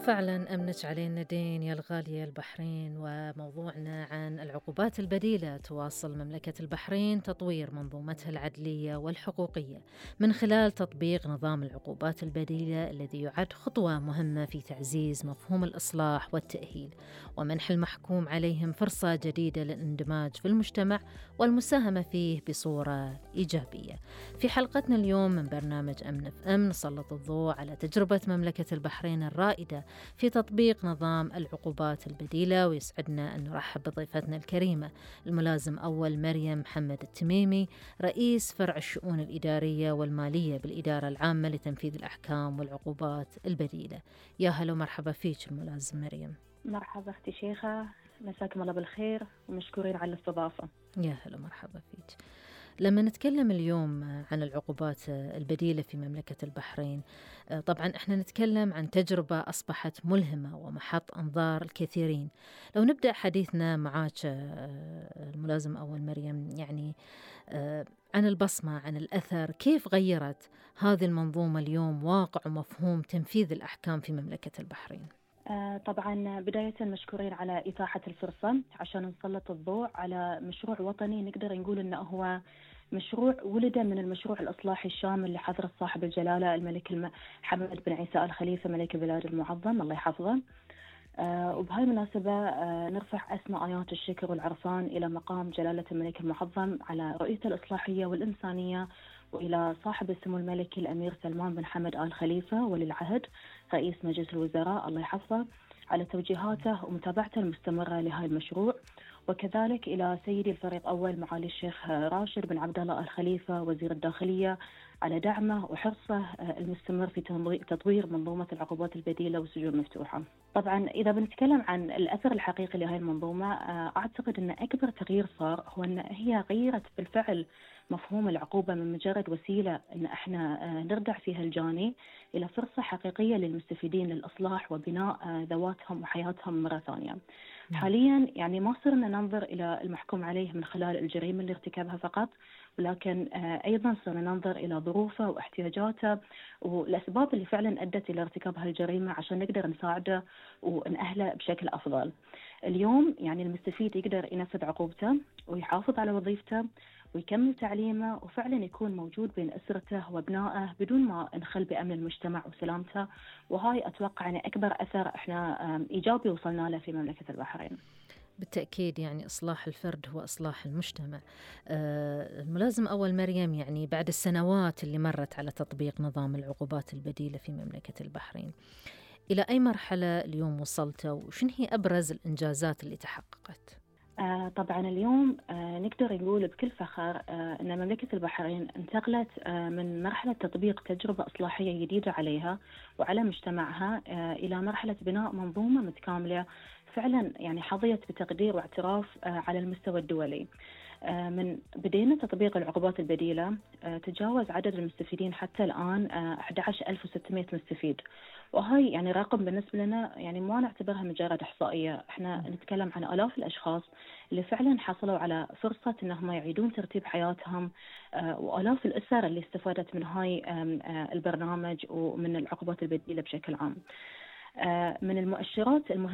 فعلا أمنت علينا دين يا الغالية البحرين، وموضوعنا عن العقوبات البديلة. تواصل مملكة البحرين تطوير منظومتها العدلية والحقوقية من خلال تطبيق نظام العقوبات البديلة الذي يعد خطوة مهمة في تعزيز مفهوم الإصلاح والتأهيل ومنح المحكوم عليهم فرصة جديدة للاندماج في المجتمع والمساهمة فيه بصورة إيجابية. في حلقتنا اليوم من برنامج أمن في أمن نسلط الضوء على تجربة مملكة البحرين الرائدة في تطبيق نظام العقوبات البديلة، ويسعدنا أن نرحب بضيفتنا الكريمة الملازم أول مريم محمد التميمي، رئيس فرع الشؤون الإدارية والمالية بالإدارة العامة لتنفيذ الأحكام والعقوبات البديلة. يا هلا ومرحبا فيك الملازم مريم. مرحبا أختي شيخة، مساكم الله بالخير ومشكورين على الاستضافة. يا هلا مرحبا فيك. لما نتكلم اليوم عن العقوبات البديلة في مملكة البحرين، طبعا احنا نتكلم عن تجربة أصبحت ملهمة ومحط أنظار الكثيرين. لو نبدأ حديثنا معاك الملازم أول مريم، يعني عن البصمة، عن الأثر، كيف غيرت هذه المنظومة اليوم واقع ومفهوم تنفيذ الأحكام في مملكة البحرين؟ طبعا بداية مشكورين على إتاحة الفرصة عشان نسلط الضوء على مشروع وطني نقدر نقول إنه هو مشروع ولد من المشروع الإصلاحي الشامل لحضرة صاحب الجلالة الملك حمد بن عيسى آل خليفة ملك البلاد المعظم الله يحفظه. وبهاي المناسبة نرفع أسمى آيات الشكر والعرفان إلى مقام جلالة الملك المعظم على رؤيته الإصلاحية والإنسانية، وإلى صاحب السمو الملكي الأمير سلمان بن حمد آل خليفة ولي العهد رئيس مجلس الوزراء الله يحفظه على توجيهاته ومتابعته المستمرة لهذا المشروع، وكذلك إلى سيدي الفريق أول معالي الشيخ راشد بن عبد الله آل خليفة وزير الداخلية على دعمه وحرصه المستمر في تطوير منظومة العقوبات البديلة والسجون المفتوحة. طبعا إذا بنتكلم عن الأثر الحقيقي لهذه المنظومة، أعتقد أن أكبر تغيير صار هو أن هي غيرت بالفعل مفهوم العقوبة من مجرد وسيلة أن احنا نردع فيها الجاني إلى فرصة حقيقية للمستفيدين للإصلاح وبناء ذواتهم وحياتهم مرة ثانية. حاليا يعني ما صرنا ننظر إلى المحكوم عليه من خلال الجريمة اللي ارتكبها فقط، ولكن أيضا صرنا ننظر إلى ظروفه واحتياجاته والأسباب اللي فعلا أدت إلى ارتكاب هالجريمة عشان نقدر نساعده ونأهله بشكل أفضل. اليوم يعني المستفيد يقدر ينفذ عقوبته ويحافظ على وظيفته ويكمل تعليمه وفعلا يكون موجود بين أسرته وابنائه بدون ما نخل بأمن المجتمع وسلامته، وهاي أتوقع يعني أكبر أثر إحنا إيجابي وصلنا له في مملكة البحرين. بالتأكيد يعني إصلاح الفرد هو إصلاح المجتمع. الملازم أول مريم، يعني بعد السنوات اللي مرت على تطبيق نظام العقوبات البديلة في مملكة البحرين، إلى أي مرحلة اليوم وصلت وشن هي أبرز الإنجازات اللي تحققت؟ طبعا اليوم نقدر نقول بكل فخر أن مملكة البحرين انتقلت من مرحلة تطبيق تجربة إصلاحية جديدة عليها وعلى مجتمعها إلى مرحلة بناء منظومة متكاملة فعلا يعني حظيت بتقدير واعتراف على المستوى الدولي. من بدينا تطبيق العقوبات البديلة تجاوز عدد المستفيدين حتى الآن 11600 مستفيد، وهي يعني رقم بالنسبة لنا يعني ما نعتبرها مجرد إحصائية، احنا نتكلم عن آلاف الأشخاص اللي فعلا حصلوا على فرصة انهم يعيدون ترتيب حياتهم، وآلاف الأسر اللي استفادت من هاي البرنامج ومن العقوبات البديلة بشكل عام. من المؤشرات المهمة